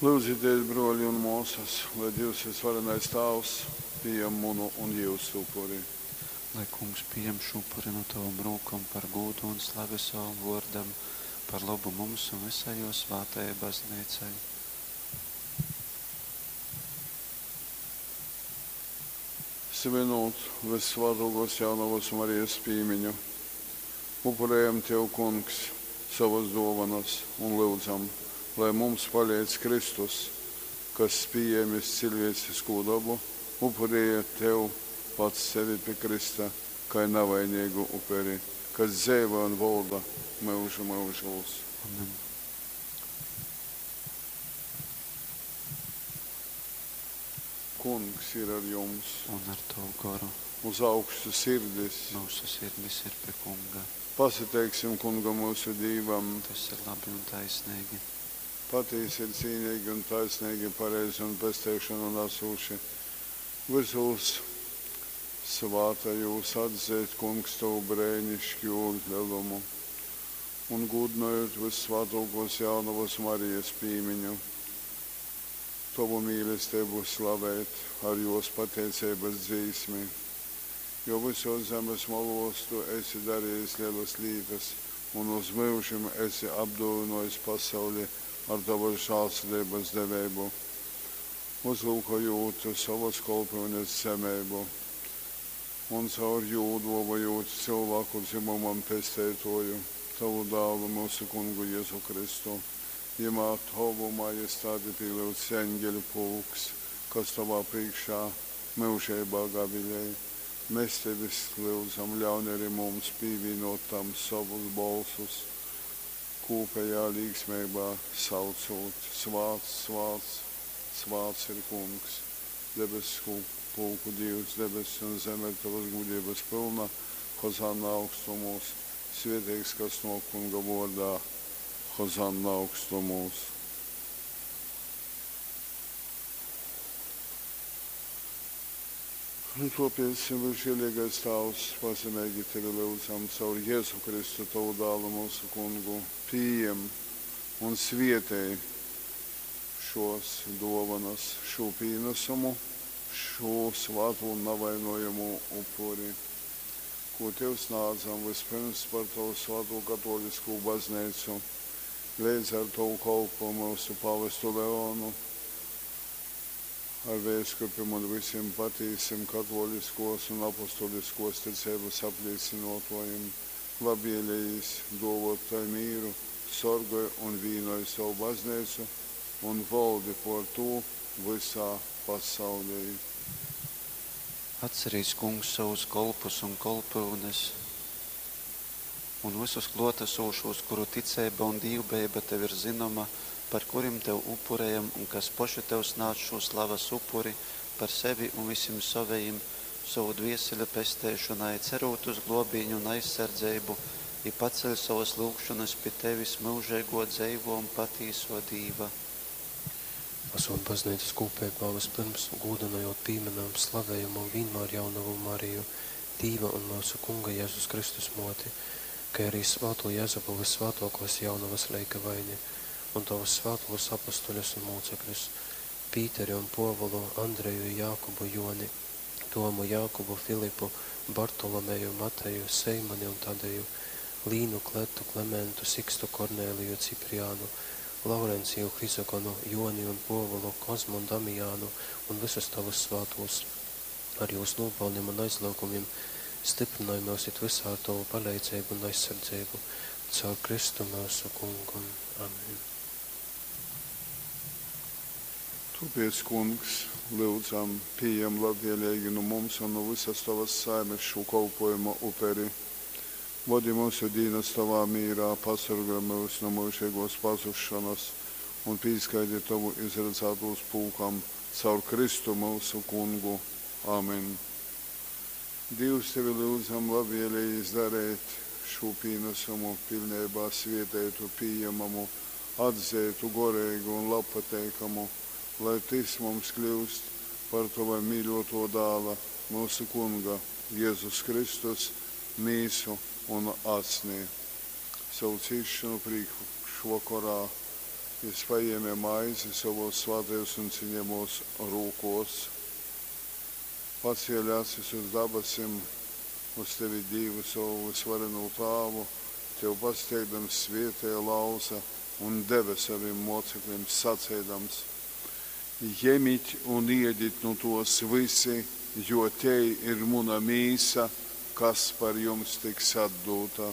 Lyudzitēs, brōli un mōsas, lai Dīvs Vysvarenais Tāvs pījam munu un jyusu upuri. Lai Kungs pījam šū upuri nu tovom rūkom par gūdu un slavi sovam vōrdam, par lobu mums un vysai jō svātajai Bazneicai. Svinūt Vyssvātōkōs Jaunovas Marijas pīmiņu, upurejam Tev, Kungs, sovas dōvonas un lyudzam, lai mums paleidz Kristus, kas, pījēmis ciļvēciskū dobu, upurēja Tev pats sevi pi krysta kai navaineigu uperi, kas dzeivoj un volda myužu myužūs. Amen. Kungs ir ar jums. Un ar tovu goru. Uz augšu sirdis. Myusu sirdis ir pi Kunga. Pasateiksim Kungam myusu Dīvam. Tas ir labi un taisneigi. Patīsi ir cīneigi un taisneigi, pareizi un pesteišonu nasūši vysūs svātajūs atzeit, Kungs, tovu breiniškū lelumu un gūdynojūt Vyssvātōkōs Jaunovas Marijas pīmiņu, tovu mīlesteibu slavēt ar jōs pateiceibas dzīsmi. Jo vysōs zemes molōs tu esi darejis lelas lītas un uz myužim esi apdōvynōjis pasauli ar tovas žālsirdeibas deveibu, uzlyukojūt sovas kolpyunes zemeibu un caur jū dōvojūt cylvāku dzymumam Pesteitōju, tovu Dālu, myusu Kungu Jezu Kristu. Jymā tovu majestati pīlyudz eņgeļu pulks, kas tovā prīškā myužeibā gavilej. Mes tevis lyudzam, ļaun ari mums pīvīnōt tam sovus bolsus, kūpejā līksmeibā saucūt, Svāts, svāts, svāts ir Kungs, debesku pulku Dīvs, debesis un zeme ir tovas gudrības pylna, Hozanna augstumūs, svieteigs, kas nōk Kunga vōrdā, Hozanna augstumūs. Un tōpēc, Vysžēleigais Tāvs, pazemeigi Tevi lyudzam caur Jēzu Kristu, Tovu Dālu, myusu Kungu, pījem un svietej šōs dōvonas, šū pīnasumu, šū svātū un navainojamū upuri, kū Tev snādzam vyspyrms par Tovu svātū katōliskū bazneicu, leidz ar Tovu kolpu myusu pavestu Leonu, ar veiskupim un vysim patīsim katōliskōs un apostoliskōs ticeibas aplīcynōtōjim, labvēlējīs dōvōt tai mīru, sorgoj un vīnoj sovu bazneicu un voldi pōr tū vysā pasaulī. Atcerīs, Kungs, sovus kolpus un kolpyunes un vysus klōtasūšūs, kuru ticeiba un dīvbejeiba tev ir zynoma, par kurim tev upurejam un kas poši tev snādz šū slavas upuri par sevi un vysim sovejim, sovu dvieseļu pesteišonai, cerūt uz glōbīņu un aizsardzeibu, i paceļ sovas lyugšonas pi tevis, myužeigō, dzeivō un patīsō Dīva. Asūt Bazneicas kūpeibā, vyspyrms gūdynojūt, pīmynam, slavejam un vīnmār Jaunovu Mariju, Dīva un myusu Kunga Jezus Kristus Mōti, kai arī svātū Jezupu Vyssvātōkōs Jaunovas leigavaini un tovus svātūs apostoļus un mūcekļus, Pīteri un Pōvulu, Andreju, Jākubu, Jōni, Tomu, Jākubu, Filipu, Bartolomeju, Mateju, Seimani un Tadeju, Līnu, Kletu, Klementu, Sikstu, Kornēliju, Cipriānu, Laurenciju, Hrizogonu, Jōni un Pōvulu, Kozmu un Damijānu un vysus tovus svātūs. Ar jūs nūpalnim un aizlyugumim styprynoj myus it vysā ar tovu paleidzeibu un aizsardzeibu. Caur Kristu myusu Kungu. Amen. Tōpēc, Kungs, lyudzam, pījem labvēleigi nu mums un nu vysas tovas saimes šū kolpōjuma uperi. Vodi myusu dīnas tovā mīrā, pasorgoj myus nu myužeigōs pazusšonas un pīskaiti tovu izradzātūs pulkam caur Kristu myusu Kungu. Amen. Dīvs, tevi lyudzam, labvēlejīs dareit šū pīnasumu piļneibā svieteitu, pījemamu, atzeitu, goreigu un labpateikamu, lai tys mums kļyust par tova mīļōtō Dāla, myusu Kunga Jezus Kristus mīsu un asni. Sovu cīsšonu prīškvokorā Jys pajēme maizi sovōs svātajōs un ciņejamōs rūkōs, pacēle acis uz dabasim, uz tevi Dīvu sovu vysvarenū Tāvu, tev pasateikdams svēteja, lauze un deve sovim mōceklim, saceidams, Jemit un iedit nu tōs vysi, jo tei ir muna mīsa, kas par jums tiks atdūta.